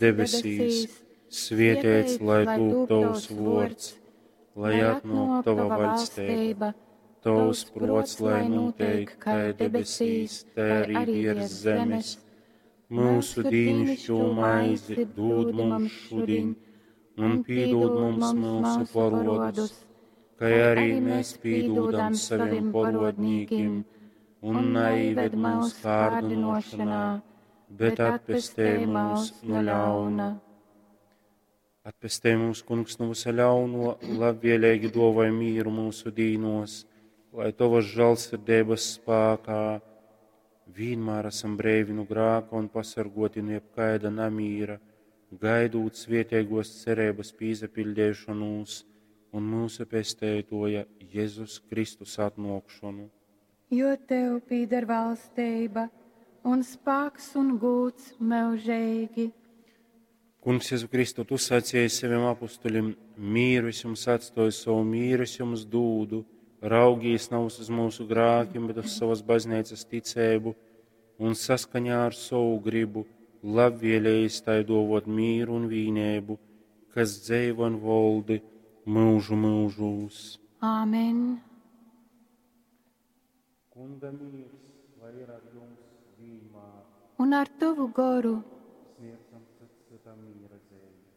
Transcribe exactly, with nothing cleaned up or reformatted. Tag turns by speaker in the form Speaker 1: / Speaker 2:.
Speaker 1: Debesīs, svietēts lai tūp tovs vuords, lai atnuok tova vaļsteiba, tovs pruots lai nūteik kai debesīs, tai arī viers zemes. Mūsu dīnišķo maizi dūd mums šudiņ, un pīdūd mums mūsu porodus, kai arī mēs pīdūdam saviem porodnīkim, un neīved mūsu kārdinošanā, bet atpestē mūs no ļauna. Atpestē mūs, Kungs, no visa ļauno, labvēlīgi dāvāj mīru mūsu dīnos, lai tavas žēlsirdības spēkā vienmēr esam breivi no grāka un pasargoti no jebkaida namīra, gaidot svietēgos cerības pīzapildēšanos un mūsu pestētoja Jēzus Kristus atnākšanu.
Speaker 2: Jo tev pīder valstība un spāks un gūts mūžīgi.
Speaker 1: Kungs, Jēzu Kristu, tu sacīji saviem apustuļiem, mīru es jums atstoju, savu mīru es jums dūdu, raugīs nav uz mūsu grākiem, bet uz savas baznīcas ticēbu un saskaņā ar savu gribu labvēlējis tai dovot mīru un vīnēbu, kas dzeivo un voldi mūžu mūžūs.
Speaker 2: Āmen!
Speaker 1: Kunga mīrs, lai ir ar jums vienmēr.
Speaker 2: Un ar tavu goru.
Speaker 1: Sniedzam cits citam mīra zīmi.